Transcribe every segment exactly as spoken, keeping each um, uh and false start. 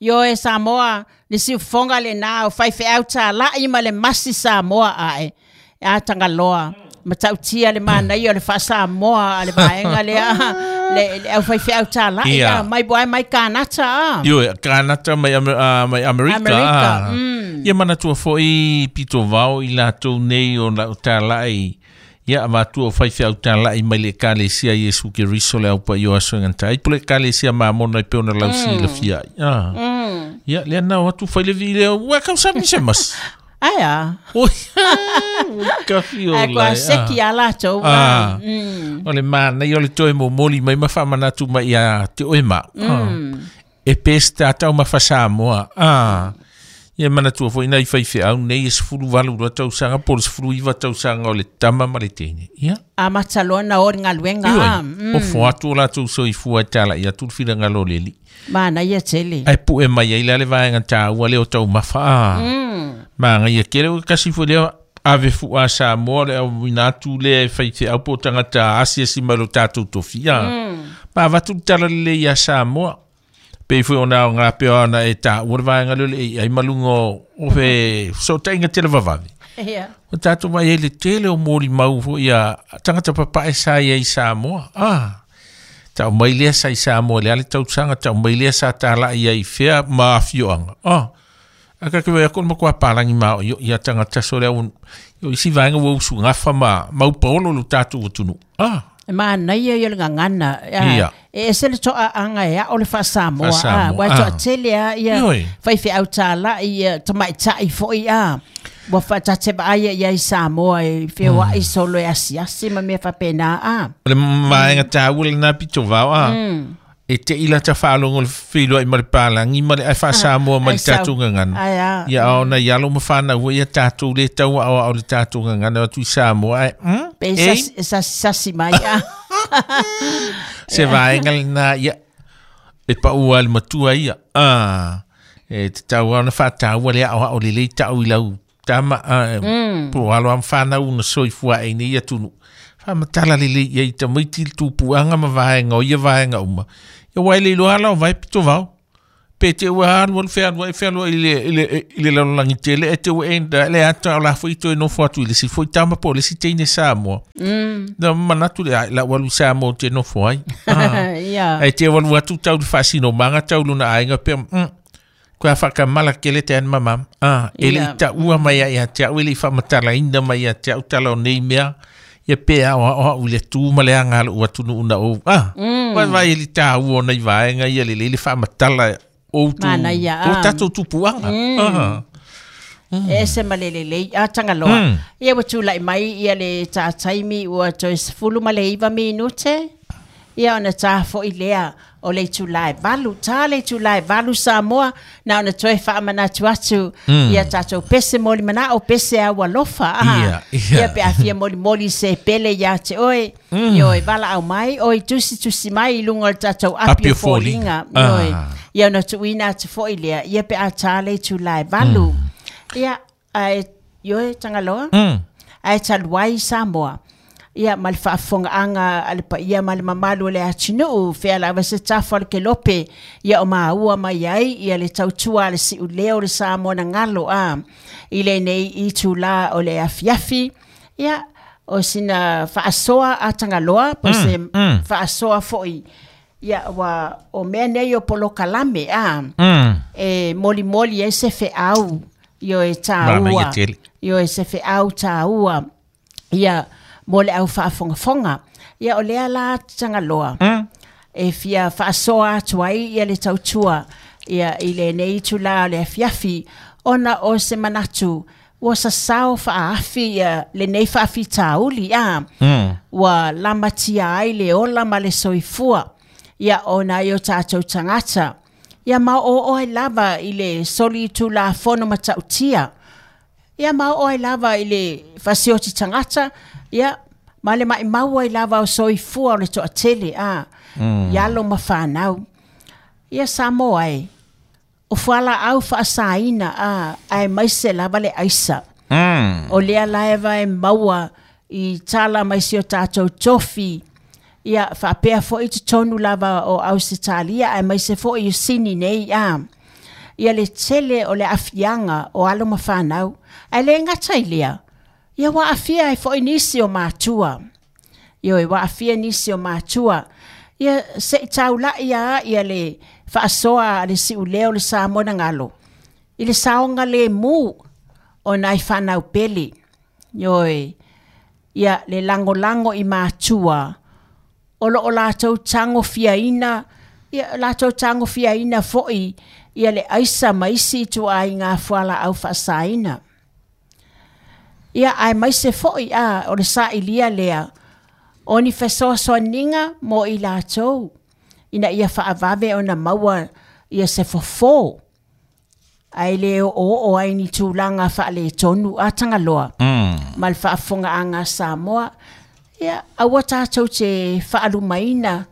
Ioe Samoa, le siufofoga lenā o faifeau tāla'i ma le masi Samoa ae. A Tagaloa, matautia le manaia o le faasamoa a le vaega lea, le, le au faifeau tāla'i Ia. a, mai buai mai Kanata a. Ioe, Kanata mai, Amer- ah, mai Amerika. Amerika, ah. mm. Ia manatua fo'i pitovao i latou nei o lau tāla'i. Ia avatua o faifeau tāla'i mai le Ekalesia Iesu Keriso le aupaia o aso e gata ai. Po le Ekalesia Mamona e pei ona lausilafia ai. Ah. Mm. Ia, lea na o atu fai le vi lea, ua kausami se masi. Ai a. Oi, kafi o Ai kua lai, seki ah. a latou. Ah. Mm. O le manaia o le toe momoli mai ma faamanatu mai ia te oe ma. Mm. E pe se tatau ma faasamoa. Ah. Ia manatua foi nai faifeau nei e sefulu valu lua tausaga po o le sefulu iva tausaga o le tama ma le teine. Ia. Amata loa na o le galuega Ioe, a. Mm. ofo atu o latou soifua e tala'i atu le finagalo o le Alii. Manaia tele. Ae pu'e mai ai la le vaega tāua lea o taumafa a. Mm. Magaia tele o kasi foi lea ave fu'a Samoa le auina atu lea e faifeau po o tagata asiasi mai lo tatou tofia. Mm. Ma avatu le tala lelei iā Samoa. Pei foi ona aogā pea ona e tāua le vaega lea o le A I ma luga o o fe fesootaiga televavave. Ia. O tatou vaai ai le tele o molimau foi a tagata papae sa i ai i Samoa. Ah. Tau mai lea sa i Samoa le ale tausaga, tau mai lea sa tāla'i ai i fea ma afioaga. Ah. A ka ke wea kono makoa pālangi mao i ia tagata so lea un, o isi vaega ua usugafa ma maupaolo lo tatou atunuu. Ah. E manaia ia le gagana. A, Ia. E ese le to'a'aga e a'o le faasamoa. A, Faasamoa, ua ah. to'atele a ia Ioe. faifeau tāla'i ia tamaita'i fo'i a. Ua faatatevaaia ia i Samoa e feoa'i solo e asiasi ma mea faapena a. O le vaega tāua lenā pitovao a. Mm. E te ila ta faalogo le feiloai ma le palagi ma le ae faasamoa ma Ai le sau. tatou gagana. Ai a. Ia ona i alo ma fanau ai ia tatou le tau aoao le tatou gagana atu i Samoa ae mm, Pe e, sasi, sasi, sasi mai a. se vaega lenā ia e paua le matua ia. Ah, e te tau ona faataua le aoao lelei ta'u i lau tama ah, Mm. po o alo a ma fanau na soifua ai nei atunuu. Faamatala lelei ia i tamaiti le tupuaga ma vaega o ia vaega uma. Ia ua e le iloa ala o vae pitovao. Pe te ua alu alu fealuai fealuai i le, i le, i le lalolagi tele e te ua enda le ata o la foi toe nofo atu i le isi foi tama po o le isi teine Samoa. Mm. Na manatu le ai, lau alu i Samoa ou te nofo ai. Ah. Ia. Ai te walu atu tau le faasinomaga tau lona aiga pea, mm, koe a faakamala kele te ana mamama. Ah, e le Ia. i taua mai ia ia te au, e le i faamatalaina mai ia te au tala o nei mea, ia pe aoaoa i le tū ma le aga lou atunuu na ou. Ah, Mm. mm. vai e le tāua o nei vaega ia lelei le faamatala o tu, Manaia, o ah. tatou tupuaga. Mm. Ah. E ese ma le lelei a Tagaloa. Mm. Ia ua tula'i mai ia le tātaimi ua toe sefulu ma le iva minute. Ia ona tā fo'i lea o le itulā e valu. Tā le itulā e valu Samoa na ona toe faamanatu atu Mm. ia tatou pese moli mana'o pese au alofa. A. Ia, ia. Ia pe a fia molimoli se pele iā te oe. Mm. Ioe valaau mai oi tusitusi mai i luga o le tatou api Api o o foliga. foliga. Ioe. Ah. Ia ona tuuina atu fo'i lea. Ia pe a tā le itulā e valu. Ia, ae, ioe Tagaloa Mm. ae talu ai Samoa. Ia ma le faafofogaaga a le paia ma le mamalu o le atunuu fea lava se tafa o le kelope ia o maua mai ai ia le tautua a le siulea o le Samoa na galo a i lenei itulā o le afiafi. Ia o sina faasoa a Tagaloa po se mm. faasoa fo'i ia ua o mea nei o polokalame a Mm. e molimoli ai se feau ioe Manaia tāua tele. ioe se feau tāua ia mo le au faafogafoga ia o lea la Tagaloa Mm. e fia faasoa atu ai ia le tautua ia i lenei itulā o le afiafi ona o se manatu ua sasao faaafi ia lenei faafitauli a Mm. ua lamatia ai le ola ma le soifua ia ona ai o tatou tagata ia ma oo ai lava i le solitulafono matautia ia ma oo ai lava i le fasioti tagata ia ma le maʻimau ai lava o soifua o le toʻatele a mm. i alo ma fanau ia Samoa e o fualaau faasaina a ae maise lava le aisa Mm. o lea laeva e maua i tala mai si o tatou tofi Ia faapea fo'i totonu lava o Ausetalia aemaise fo'i i Sini nei a. Ia le tele o le aafiaga o alo ma fanau. Ae lē gata i lea, ia ua aafia ai fo'i nisi o matua. Ioe, ua aafia nisi o matua. Ia se'i taula'i a ia le faasoa a le si'ulea o le Samoa na galo i le saoga lemu o nai fanau pele. Ioe, ia le lagolago i matua o loo latou tagofiaina, ia latou tagofiaina fo'i ia le aisa ma isi ituaiga fualaau faasaina. Ia aemaise fo'i a o le sailia lea o ni fesoasoaniga mo i latou ina ia faavave ona maua ia se fofo ae le oo ai ni tulaga faaletonu a Tagaloa mm. ma le faafofogaaga a Samoa. Ia aua tatou te faalumaina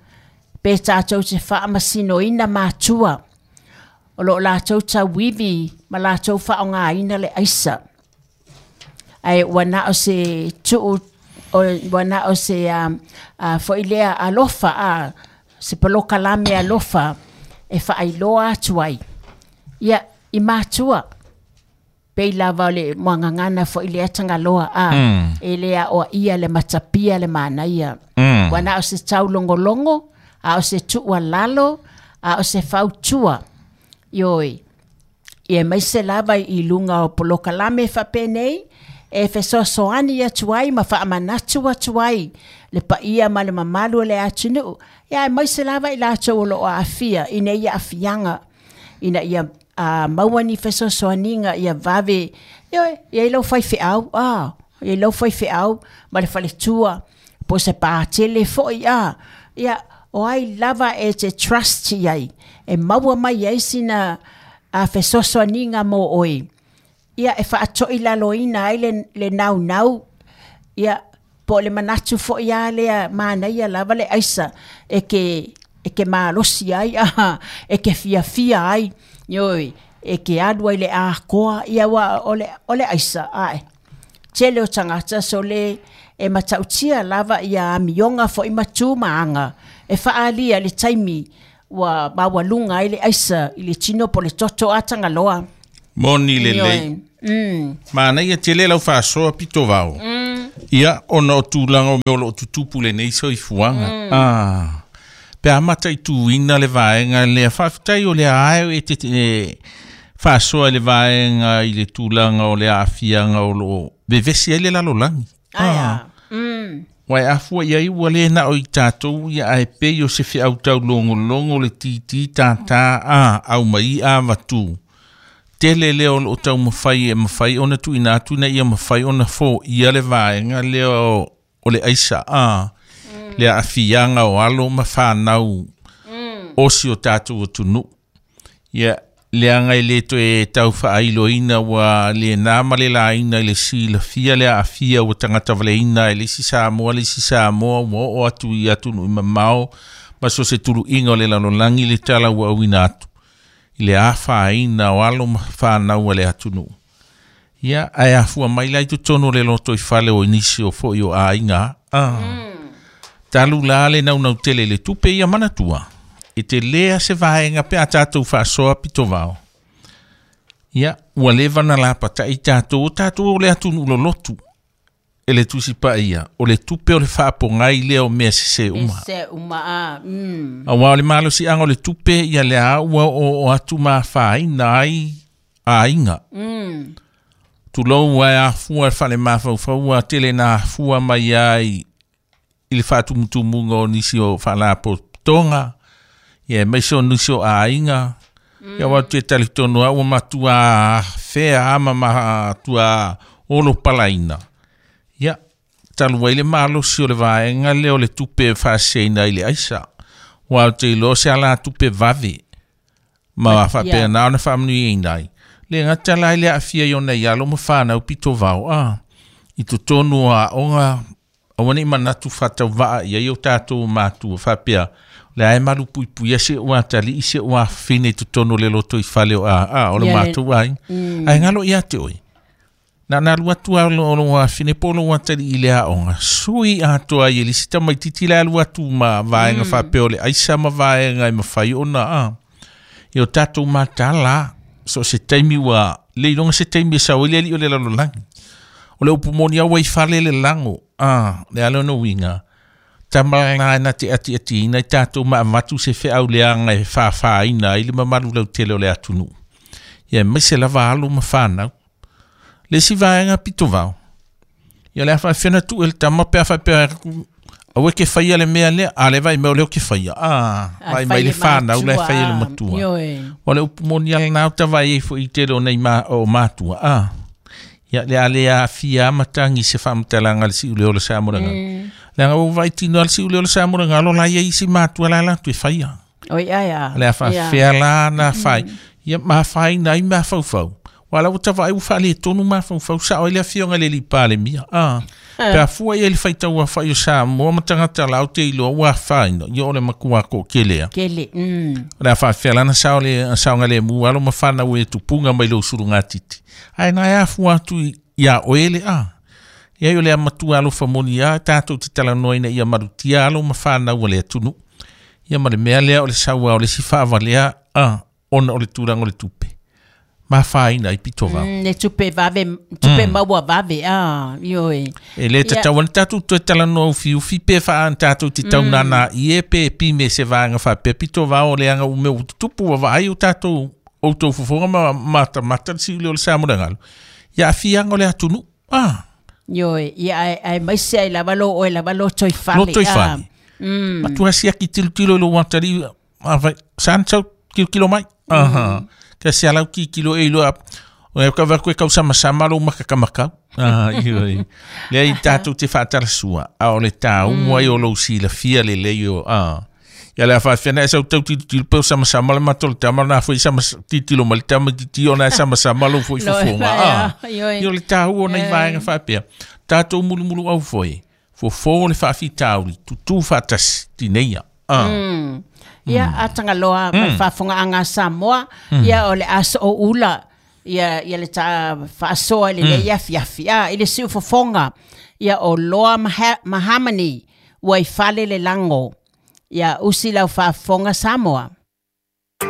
pe tatou te faamasinoina matua o loo latou tauivi ma latou faaaogāina le aisa. Ae ua na o se tuu ua na o se um, uh, fo'i lea alofa a se polokalame alofa e faailoa atu ai ia i matua pei lava o le muagagana fo'i lea Tagaloa a mm. e le aoaia le matapia le manaia. Mm. Ua na o se taulogologo a o se tuualalo a o se fautua. Ioe, ia maise lava i luga o polokalame faapenei e fesoasoani atu ai ma faamanatu atu ai le paia ma le mamalu o le atunuu. Ia aemaise lava i latou o loo aafia ina ia aafiaga ina ia uh, maua ni fesoasoaniga ia vave. Ioe, ia i lau faifeau a ia i lau faifeau ma le faletua po se patele fo'i a. Ia o ai lava e te trust iai e maua mai ai sina a fesoasoaniga mo oe. Ia e faato'i laloina ai le, le naunau. Ia po o le manatu fo'i a lea manaia lava le aisa e ke e ke malosi ai a e ke fiafia ai. Ioe, e ke alu ai le akoa ia ua o le o le aisa ae tele o tagata sole e matautia lava ia amioga fo'i ma tu ma aga e faaalia le taimi ua maualuga ai le aisa i le tino po le toto a Tagaloa. Moni lelei. Mm. Manaia tele lau faasoa pito vao. Mm. Ia ona o tulaga o mea o loo tutupu lenei soifuaga. Mm. Ah. Pe a mataituina le vaega lea faafetai o lea ae e te e, faasoa i le vaega i le tulaga o le aafiaga o loo vevesi ai le lalolagi. Aia. Mm. Ua e afua iai ua lē na o i tatou ia ae pei o se feautau logologo le titi tātā a au mai a vatu. Tele lea o loo taumafai e mafai ona tuuina atu ina ia mafai ona foia le vaega lea o, o le aisa a mm. le aafiaga o alo ma fanau mm. o si o tatou atunuu. Ia leaga e lē toe tau faailoina ua lenā ma le laina i le silafia le aafia ua tagata valeina e le isi Samoa le isi Samoa ua oo atu i atunuu i mamao ma so se tuluiga o le lalolagi le tala ua auina atu i le afaina o alo ma fanau a le atunuu. Ia ae afua mai la i totonu o le loto i fale o nisi o fo'i o aiga ah. Mm. Talu la le naunau tele i le tupe ia manatua e te lea se vaega pe a tatou faasoa pito vao. Ia ua leva na lapata'i tatou o tatou o le atunuu lolotu e le Tusi Paia o le tupe o le faapogai lea o mea sesē uma. Se uma a. Mm. Auā o le malosiaga o le tupe ia le a ua oo atu ma afaina ai aiga. Mm. Tulou ae afua le falemafaufau tele na afua mai ai i le faatumutumuga o nisi o faalapotopotoga ia aemaise o nisi o aiga. Mm. Ia ua te talitonu a ua matua afea ama matua olo palaina. Ia talu ai le malosi o le vaega lea o le tupe e faaseseina i le aisa. Ua o te iloa se ala tupe vave ma faapena ona faamanuiaina ai. Le gata la i le aafia i ona i alo ma fanau pito vao a i totonu o aoga aua nei manatu faatauvaa ia i o tatou matua faapea le ae malupuipuia seʻu atalii seʻu afafine i totonu o le loto i fale o a a o le Ia le matou aiga. Mm. Ae galo ia te oe. Na na alu atu a lo lo afine po lo atali i le aoga sui atoa i le isi tamaititi le alu atu ma vaega faapea o le aisa ma vaega e mafai ona a ia o tatou matala so se taimi ua le iloga se taimi e sau ai le alii o le lalolagi o le upu moni a ua i fale le lago a le ala ona uiga tamalā na te atiatiina i tatou ma avatu se feau leaga e fāfāina ai le mamalu lautele o le atunuu ia aemaise lava alo ma fanau le isi vaega pitovao ia le a faafefea ona tuu e le tama pe a faapea aua ke faia le mea lea a le vaai mai o lea o ke faia a A vaai mai fai le le fanau la e matua faia le matua Ioe. o le upu moni a lenā o tavaai ai foʻi tele o nei ma o matua a ia le a le aafia matagi se faamatalaga le siʻu le o le sa mo le galo leaga ua vaai tino a le siʻu le o le sa mo le galo la ia isi matua la latou e faia Oi ai a. le a faafefea la na fai ia mafaina ai mafaufau ua la ua tavaai ua faaletonu mafaufau saʻo ai le afioga i le alii Palemia a pe afua ia i le faitau afaʻi o Samoa ma tagata lau te iloa ua afaina ia o le matua toʻatelea Kele. Mm. o le a faafefea lana sao le saogalemu alo ma fanau e tupuga mai lou sulugatiti ae na e afua atu i iā oe le a ia o le amatua alofa moni a tatou te talanoaina ia malutia alo ma fanau a le atunuu ia ma le mea lea o le saua o le isi faavalea a ona o le tulaga o le tupe mafaina ai pitovao Mm, le tupe vave, tupe maua vave. Ah, ioe. e lē tatau ana tatou toe talanoa ufiufi pe faa tatou te taunana i e pe pime se vaega faapea pitovao o leaga ua mea ua tutupu ua vaai o tatou outou fofoga ma matamata le siule o le sa mo le galo ia aafiaga o le atunuu a Ioe. Ia ai ai mai se ai lava lo oe lava lo toi fale. Lo toi fale. Mm. matua siaki tilotilo i lou atalii afai sa na sau kilokilo mai aha ka se alau kikilo e iloa o e ka vaku e kausamasama lou makakamakau ah ioi lea i tatou te faatalasua a o le tāumu ai o lou silafia lelei o a ia le a faafefea na e sau tau tilotilo pe o samasama le mato le tama na foi sama tilotilo ma le tama titi ona e samasama lou foi Lo fofoga a Ioe. ia o le tāua o nai vaega faapea tatou mulumulu au foi fofō le faafitauli tutū faatasi tineia a Mm. Ia atanga loa mm. faafofoga Samoa ia o le aso o ula ia ia le ta faasoa le le afiafi a i le siufofoga ia o loa maha, mahamani ua i fale le lago ia usi lau faafofoga Samoa.